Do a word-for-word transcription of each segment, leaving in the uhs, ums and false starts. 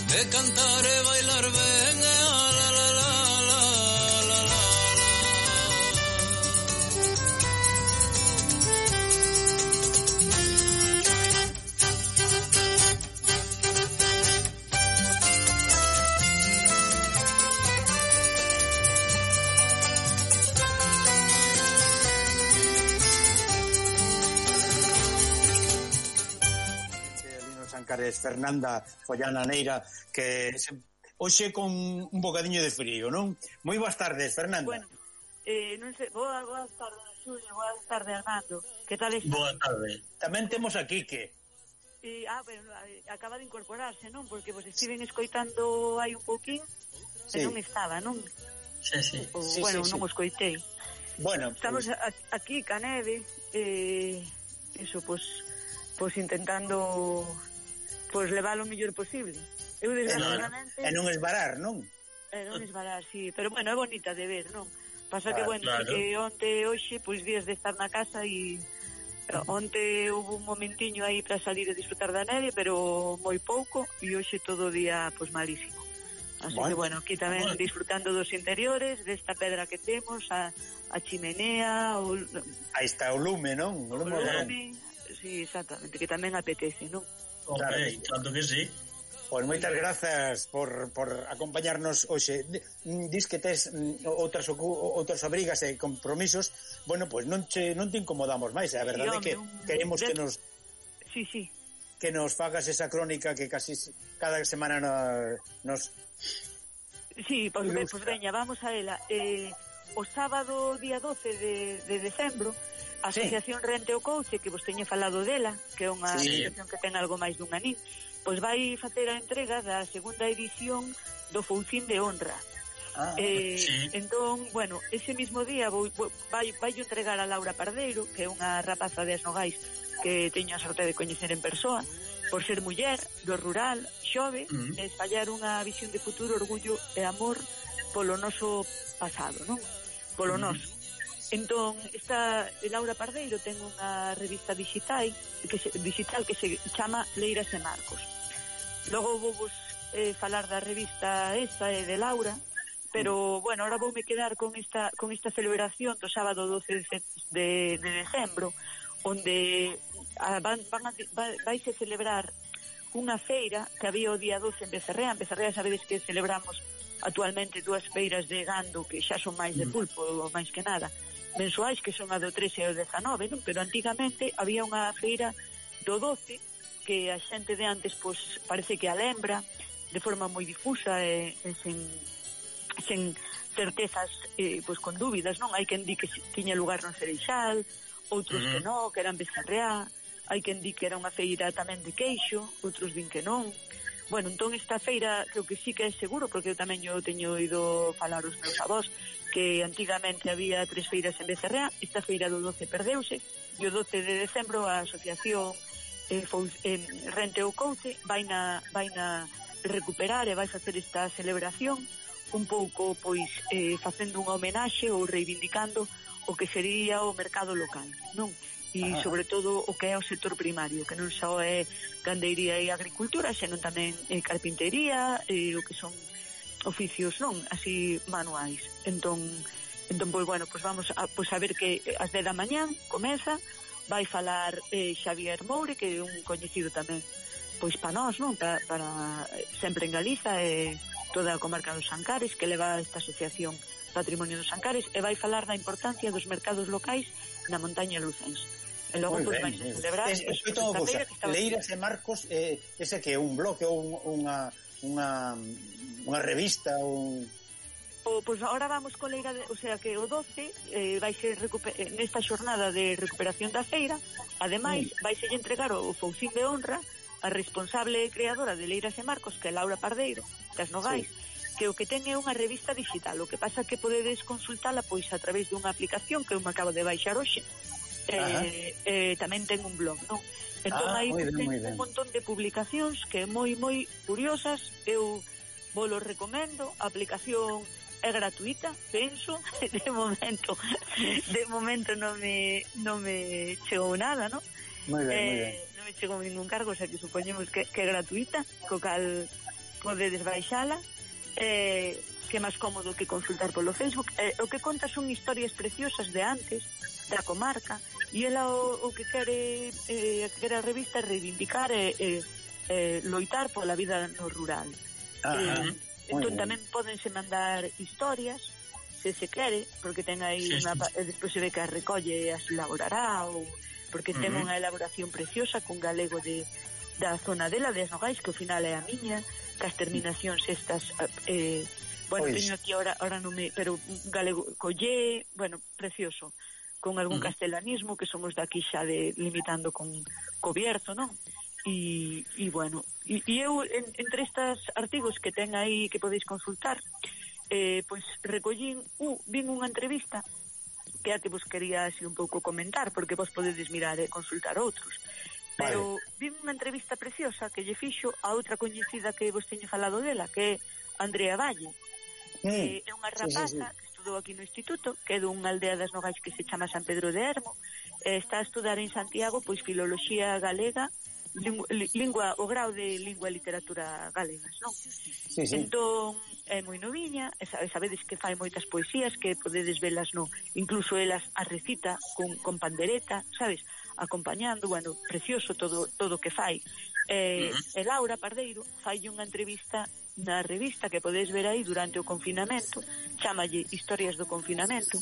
de cantar e bailar ben, e a la la la la la la. Sancares, Fernanda Follana Neira, que se, hoxe con un bocadiño de frío, non? Moi boas tardes, Fernanda. Bueno, eh, non sei, boas, boas tardes, Xulio, boas tardes, Armando. Que tal está? Boa tarde. Tamén temos a Quique. E, ah, bueno, acaba de incorporarse, non? Porque vos estiven escoitando hai un pouquín, sí. E non estaba, non? Sí, sí. O, sí bueno, sí, non sí. o escoitei. Bueno, estamos pues... a, aquí, ca neve, eh, eso, pues, pues intentando... Pois levar o mellor posible. Eu desgraciadamente... E non esvarar, non? E non esvarar, sí. Pero, bueno, é bonita de ver, non? Pasa claro, que, bueno, claro. que onte, hoxe, pois días de estar na casa e... Onte hubo un momentiño aí para salir e disfrutar da neve, pero moi pouco, e hoxe todo o día, pois, malísimo. Así bueno, que, bueno, aquí tamén bueno. Disfrutando dos interiores, desta pedra que temos, a, a chimenea... O... Aí está o lume, non? O lume, o lume, sí, exactamente, que tamén apetece, non? Claro, okay, tanto que sí. Pois moitas grazas por, por acompañarnos hoxe. Dis que tes outras outras obrigas e compromisos. Bueno, pois non che non te incomodamos máis, a verdade é que queremos que nos Sí, sí. Que nos fagas esa crónica que casi cada semana nos, nos... Sí, pois, pues, pues veña, vamos a ela. Eh, o sábado día doce de, de decembro a Asociación sí. Rente o Couche, que vos teño falado dela, que é unha sí. asociación que ten algo máis dun anín, pois vai facer a entrega da segunda edición do Foucín de Honra. Ah, eh, sí. Entón, bueno, ese mismo día vou, vai, vai entregar a Laura Pardeiro, que é unha rapaza de Asnogais que teño a sorte de coñecer en persoa, por ser muller, do rural, xove, uh-huh. e espallar unha visión de futuro, orgullo e amor polo noso pasado, non? Polo uh-huh. noso. Entón, esta Laura Pardeiro ten unha revista digital que se, digital que se chama Leiras e Marcos. Logo vou vos eh, falar da revista esta e de Laura, pero, bueno, ahora voume quedar con esta con esta celebración do sábado doce de, de decembro, onde a, van, van a, va, vaise celebrar unha feira que había o día doce en Becerrea. En Becerrea sabedes que celebramos actualmente dúas feiras de gando que xa son máis de pulpo, máis que nada, mensuais, que son a do trece e o dezanove, non? Pero antigamente había unha feira do doce que a xente de antes, pois, parece que a lembra de forma moi difusa e, e sen, sen certezas, eh, pois con dúbidas, non? Hai quen di que tiña lugar no Cereixal, outros uh-huh. que non, que eran Becerreá, hai quen di que era unha feira tamén de queixo, outros din que non. Bueno, entón esta feira creo que sí que é seguro, porque eu tamén eu teño ido falar os meus avós que antigamente había tres feiras en Becerrea. Esta feira do doce perdeuse e o doce de decembro a asociación eh, Fous, eh, Rente o Couche vai na, vai na recuperar e vai facer esta celebración un pouco, pois, eh, facendo unha homenaxe ou reivindicando o que sería o mercado local, non? E sobre todo o que é o sector primario, que non só é gandeiría e agricultura, senón tamén é carpintería e o que son oficios, non, así manuais. Entón, entón pois bueno, pois vamos a, pois a ver que ás dez da mañán comeza, vai falar eh, Xavier Moure, que é un coñecido tamén pois para nós, non, para, para sempre en Galiza e toda a comarca dos Ancares, que leva esta asociación Patrimonio dos Ancares, e vai falar da importancia dos mercados locais na montaña lucense. E logo, pois, vai celebrar es, es, esta feira que estaba... Leiras e Marcos, eh, ese que é un bloque ou un, unha unha unha revista ou... O, pois agora vamos con Leira de, o sea que o doce eh, vai ser recuper, nesta xornada de recuperación da feira, ademais mm. vai ser entregar o Foucín de Honra a responsable creadora de Leiras e Marcos, que é Laura Pardeiro, das Nogais, sí. que o que ten é unha revista digital. O que pasa que podedes consultala pois a través dunha aplicación que eu me acabo de baixar hoxe. Eh, eh, tamén ten un blog, non? Entón ah, aí ben, ten un montón de publicacións que é moi moi curiosas. Eu vos lo recomendo. A aplicación é gratuita, penso. De momento, de momento non me non me chegou nada, non? Moi ben, eh, moi ben. Non me chegou ningún cargo, o sea que supoñemos que, que é gratuita, co cal podedes baixala, eh, que é máis cómodo que consultar polo Facebook. Eh, o que conta son historias preciosas de antes, da comarca, e ela o, o que quere eh, que quere a revista reivindicar e eh, eh, loitar pola vida no rural. Eh, entón tamén pódense mandar historias se se quere, porque ten aí sí, unha, sí. Despois se ve que as recolle e as elaborará, ou porque ten uh -huh. unha elaboración preciosa con galego de da zona dela, de Nogais, que ao final é a miña, que as terminacións estas eh, bueno, pois. Teño aquí ahora, ahora non me, pero galego collé, bueno, precioso, con algún uh -huh. castelanismo, que somos daqui xa de limitando con co Bierzo, non? E, e bueno, e, e eu en, entre estes artigos que ten aí que podéis consultar, eh, pois recollín, uh, vin unha entrevista que a que vos quería así un pouco comentar, porque vos podedes mirar e consultar outros. Pero vale. Vi unha entrevista preciosa que lle fixo a outra coñecida que vos teño falado dela, que é Andrea Valle. Mm. É unha rapaza sí, sí, sí. que estudou aquí no instituto, que é dunha aldea das Nogais que se chama San Pedro de Hermo, e está a estudar en Santiago pois filoloxía galega, lingua, lingua o grau de lingua e literatura galegas, non? Sí, sí. Entón, é moi noviña, e sabedes que fai moitas poesías que podedes velas, no, incluso elas a recita con, con pandereta, sabes? Acompañando, bueno, precioso todo todo o que fai. Eh, uh-huh. E Laura Pardeiro fai unha entrevista na revista que podedes ver aí durante o confinamento, chámalle Historias do confinamento.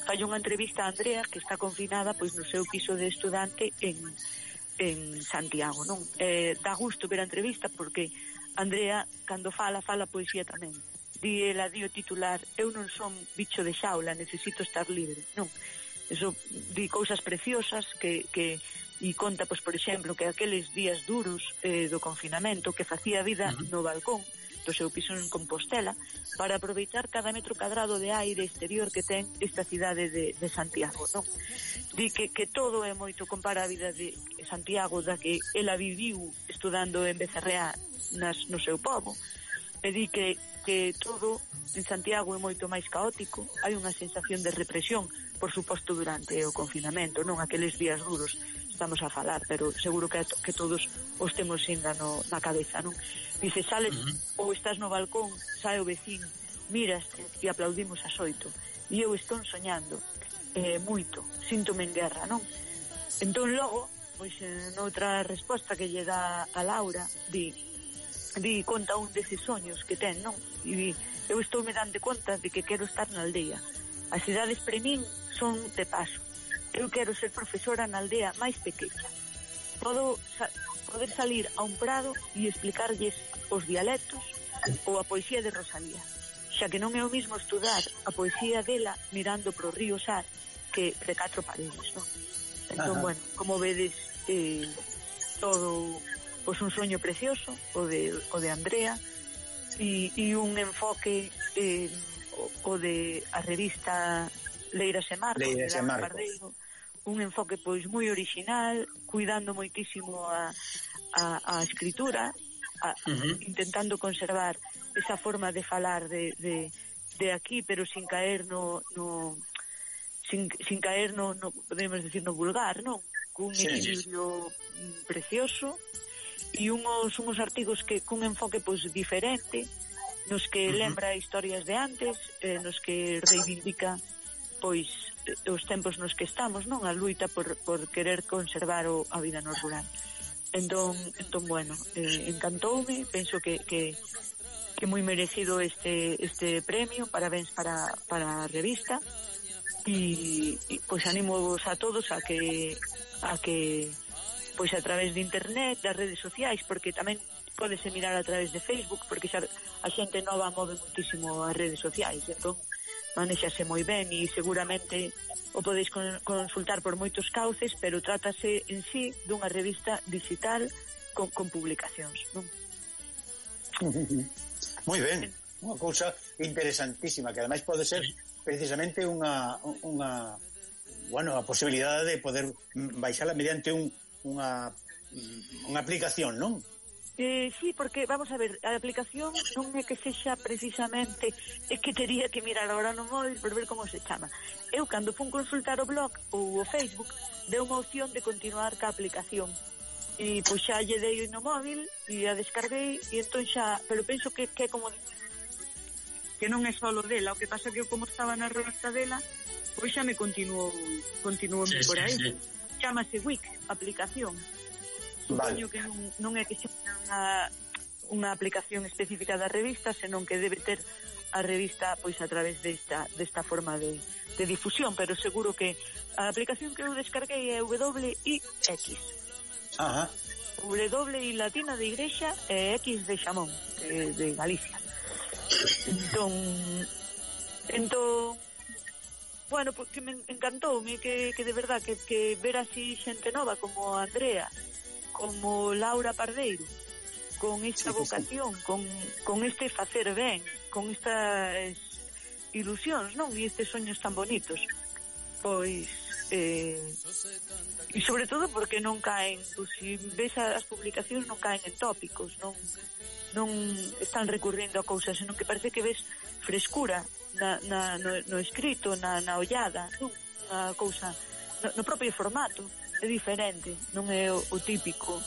Fai unha entrevista a Andrea, que está confinada pois no seu piso de estudante en en Santiago, non? Eh, dá gusto ver a entrevista porque Andrea, cando fala, fala poesía tamén. Di ela, di o titular, eu non son bicho de xaula, necesito estar libre, non? Eso, di cousas preciosas que, que e conta, pois, por exemplo, que aqueles días duros eh, do confinamento que facía vida uh-huh. no balcón do seu piso en Compostela para aproveitar cada metro cadrado de aire exterior que ten esta cidade de, de Santiago, non? Di que, que todo é moito, compara a vida de Santiago da que ela viviu estudando en Becerreá nas, no seu pobo, e di que, que todo en Santiago é moito máis caótico, hai unha sensación de represión, por suposto durante o confinamento, non aqueles días duros estamos a falar, pero seguro que, que todos os temos ainda no, na cabeza, non? Dice, sales uh -huh. ou estás no balcón, sae o vecín, miras e aplaudimos a xoito, e eu estou soñando eh, moito, síntome en guerra, non? Entón logo, pois noutra resposta que lle dá a Laura, di, di conta un deses soños que ten, non? E di, eu estou me dando conta de que quero estar na aldea. As cidades pre min son de paso. Eu quero ser profesora na aldea máis pequena. Podo sa poder salir a un prado e explicarlles os dialectos ou a poesía de Rosalía, xa que non é o mismo estudar a poesía dela mirando pro río Sar que de catro paredes, non? Entón, ajá. Bueno, como vedes, eh, todo pois un soño precioso, o de, o de Andrea, e, e un enfoque eh, o, o de a revista Leiras e Marcos, Leiras e Marcos. Pardeiro, un enfoque pois moi original, cuidando moitísimo a, a, a escritura, a, uh -huh. intentando conservar esa forma de falar de, de, de aquí, pero sin caer no, no sin, sin caer no, no, podemos decir, no vulgar, non? Cun sí, equilibrio sí. precioso e unhos, unhos artigos que cun enfoque pois diferente, nos que uh -huh. lembra historias de antes, eh, nos que reivindica pois os tempos nos que estamos, non? A luita por, por querer conservar o, a vida no rural. Entón, entón bueno, eh, encantoume, penso que, que, que moi merecido este este premio, parabéns para, para a revista, e, e pois animo a todos a que a que pois a través de internet, das redes sociais, porque tamén pódese mirar a través de Facebook, porque xa a xente nova move muitísimo as redes sociais, entón manéxase moi ben e seguramente o podeis consultar por moitos cauces, pero trátase en sí dunha revista digital con, con publicacións, non? Moi ben, unha cousa interesantísima que ademais pode ser precisamente unha unha bueno, a posibilidade de poder baixala mediante un unha unha aplicación, non? Eh, sí, porque, vamos a ver, a aplicación non é que sexa precisamente, é que tería que mirar agora no móvil por ver como se chama. Eu, cando fun consultar o blog ou o Facebook, deu unha opción de continuar ca aplicación. e pois xa lle dei no móvil e a descarguei e entón xa, pero penso que, que é como que non é solo dela, o que pasa que eu como estaba na revista dela pois xa me continuou continuou sí, por aí sí, sí. Chámase Wix, aplicación. Supoño vale. Que non, non é que xa unha, unha aplicación específica da revista, senón que debe ter a revista pois a través desta, desta forma de, de difusión, pero seguro que a aplicación que eu descarguei é W I X. Ajá. W I latina de igrexa e X de Xamón, de, de Galicia. Entón, entón bueno, porque me encantoume que, que de verdad que, que ver así xente nova como Andrea, como Laura Pardeiro, con esta vocación, con, con este facer ben, con estas ilusións, non? E estes soños tan bonitos. Pois, eh, e sobre todo porque non caen, pois, se ves as publicacións non caen en tópicos, non, non están recurrindo a cousas, senón que parece que ves frescura na, na, no, no escrito, na, na ollada, non? Unha cousa, no, no propio formato, é diferente, non é o, o típico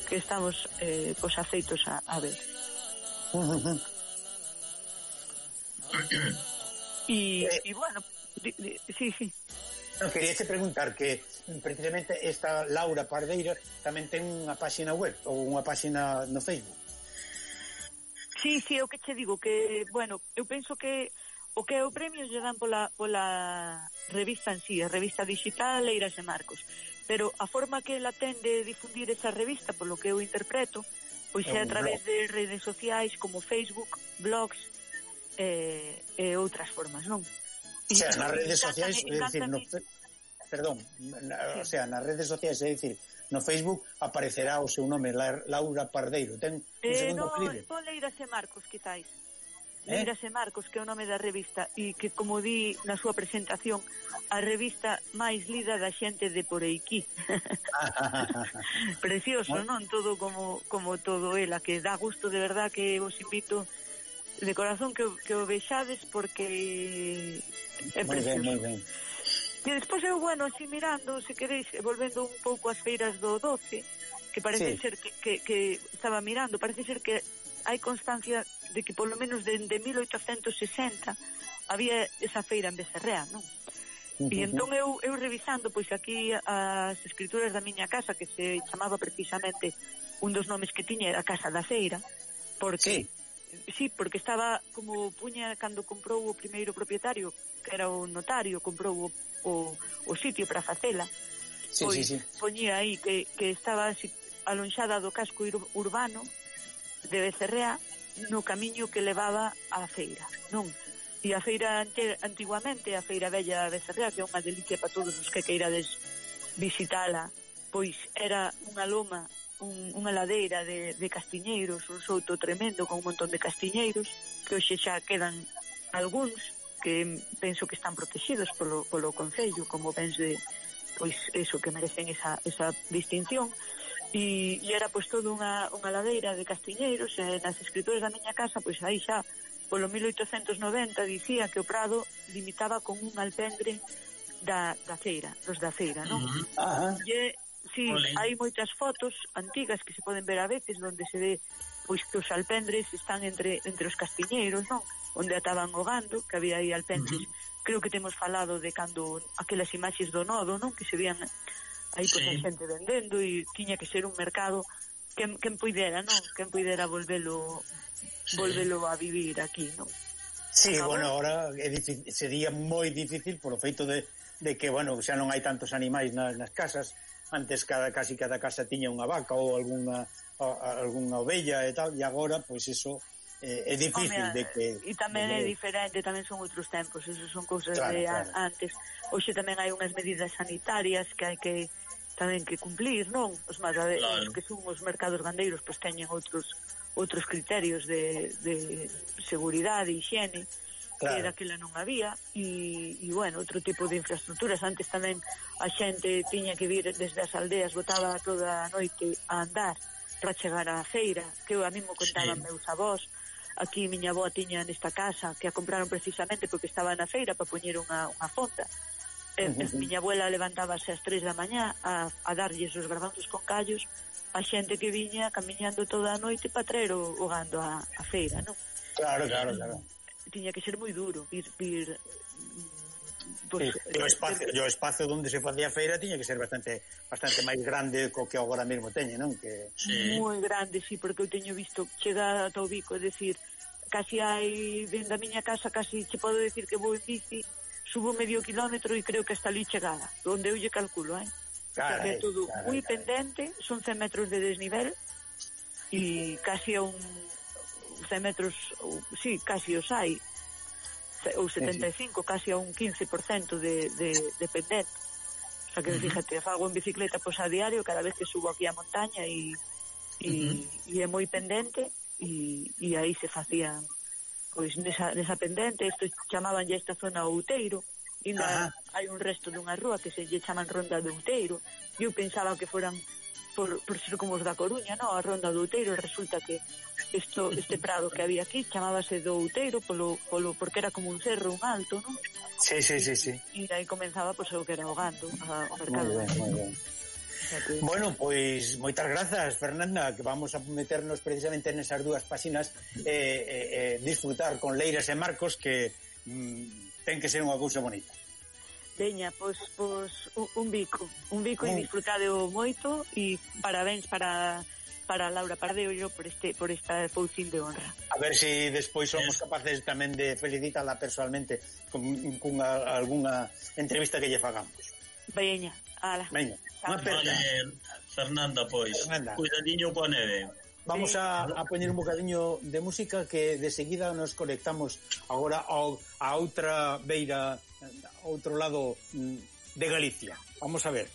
que estamos eh, pues, aceitos a, a ver. Y, eh, y bueno, di, di, sí, sí. No, quería te preguntar que precisamente esta Laura Pardeiro tamén ten unha página web ou unha página no Facebook. Sí, sí, o que che digo que, bueno, eu penso que o que o premio lle dan pola, pola revista en sí, a revista digital Leiras e Marcos. Pero a forma que ela ten de difundir esa revista, polo que eu interpreto, pois é a través de redes sociais como Facebook, blogs e, e outras formas, non? O sea, nas redes sociais, é dicir, no, perdón, na, sí. O sea, nas redes sociais, é dicir, no Facebook aparecerá o seu nome, Laura Pardeiro. Ten un eh, segundo no, clive. No, Leiras e Marcos, quizáis. Eh? Leiras e Marcos, que é o nome da revista, e que, como di na súa presentación, a revista máis lida da xente de por aquí. Precioso, non? Todo como, como todo ela, que dá gusto, de verdad, que vos invito de corazón que, que o vexades, porque é muy precioso. Muy ben, moi ben. E despois eu, bueno, así mirando, se queréis, volvendo un pouco ás feiras do doce, que parece sí. ser que, que, que estaba mirando, parece ser que hai constancia de que polo menos dende mil oitocentos sesenta había esa feira en Becerrea, non? Uh-huh. E entón eu, eu revisando, pois aquí as escrituras da miña casa, que se chamaba precisamente, un dos nomes que tiña era a Casa da Feira, porque sí, sí porque estaba como puña cando comprou o primeiro propietario, que era o notario, comprou o, o, o sitio para facela, sí, pois sí, sí. poñía aí que, que estaba así, alonxada do casco urbano de Becerrea, no camiño que levaba á feira, non? E a feira antiguamente, a feira bella de Becerrea, que é unha delicia para todos os que queirades visitala, pois era unha loma, un, unha ladeira de, de castiñeiros, un souto tremendo con un montón de castiñeiros, que hoxe xa quedan algúns, que penso que están protegidos polo, polo Concello, como pens de, pois, eso, que merecen esa, esa distinción. E, e era pois toda unha, unha ladeira de castiñeiros, e nas escrituras da miña casa, pois aí xa polo mil oitocentos noventa dicía que o Prado limitaba con un alpendre da, da feira, dos da feira, non? Uh-huh. E, sí, Olé. Hai moitas fotos antigas que se poden ver a veces onde se ve pois que os alpendres están entre entre os castiñeiros, non? Onde ataban o gando, que había aí alpendres. Uh-huh. Creo que temos falado de cando aquelas imaxes do nodo, non? Que se vían aí pois sí. A xente vendendo, e tiña que ser un mercado quen, quen puidera, non? Quen puidera volvelo sí. volvelo a vivir aquí, non? Sí, acabou. Bueno, ahora é difícil, sería moi difícil por o feito de, de que, bueno, xa non hai tantos animais nas, nas casas. Antes cada casi cada casa tiña unha vaca ou algunha a, algunha ovella e tal, e agora, pois eso eh, é difícil. Home, de que... E tamén de... é diferente, tamén son outros tempos, eso son cousas claro, de claro. antes. Hoxe tamén hai unhas medidas sanitarias que hai que tamén que cumplir, non? Os mataderos, claro. Que son os mercados gandeiros, pois teñen outros outros criterios de, de seguridade e higiene, claro. Que daquela non había, e, e bueno, outro tipo de infraestructuras. Antes tamén a xente tiña que vir desde as aldeas, botaba toda a noite a andar para chegar á feira, que eu a mí me contaban sí. Meus avós. Aquí miña avó tiña nesta casa, que a compraron precisamente porque estaba na feira para poñer unha, unha fonda. E, uh -huh. Miña abuela levantábase ás tres da mañá a, a darlles os garbanzos con callos a xente que viña camiñando toda a noite para traer o, o gando a, a feira, non? Claro, claro, claro. Tiña que ser moi duro vir... vir pues, sí, o espacio, de... o espacio onde se facía a feira tiña que ser bastante bastante máis grande co que agora mesmo teñe, non? Que... Sí. Moi grande, sí, porque eu teño visto chegar ata o Bico, é dicir, casi hai, dentro da miña casa, casi che podo decir que vou en bici, subo medio kilómetro e creo que hasta ali chegada, onde eu lle calculo, eh? Claro, é todo claro, moi claro. Pendente, son cen metros de desnivel e casi a un cen metros, sí, casi os hai, ou setenta e cinco, casi a un quince por cento de, de, de pendente. O sea que, uh -huh. fíjate, fago en bicicleta pois a diario cada vez que subo aquí a montaña e, e, uh -huh. e é moi pendente e, e aí se facían pois nesa, nesa pendente, isto chamaban ya esta zona Outeiro, e ainda hai un resto dunha rúa que se lle chaman Ronda do Outeiro, e eu pensaba que foran por, por ser como os da Coruña, no? A Ronda do Outeiro, resulta que Esto, este prado que había aquí chamábase do Outeiro polo, polo, porque era como un cerro, un alto, non? Sí, sí, sí, sí. E aí comenzaba pois, o que era o gando, o mercado. Muy bien, muy bien. Que... Bueno, pois moitas grazas, Fernanda, que vamos a meternos precisamente nesas dúas páxinas eh, eh, eh, disfrutar con Leiras e Marcos, que mm, ten que ser unha cousa bonita. Veña, pois, pois un, un bico, un bico mm. e disfrutadeo moito e parabéns para... para Laura Pardeo por este por esta poucín de honra. A ver se si despois somos capaces tamén de felicitarla personalmente con, con a, alguna entrevista que lle fagamos. Veña, ala. Veña. Vale, Fernanda, pois. Fernanda. Cuidadiño coa neve. Vamos sí. a, a poñer un bocadiño de música que de seguida nos conectamos agora ao, a outra beira, a outro lado de Galicia. Vamos a ver.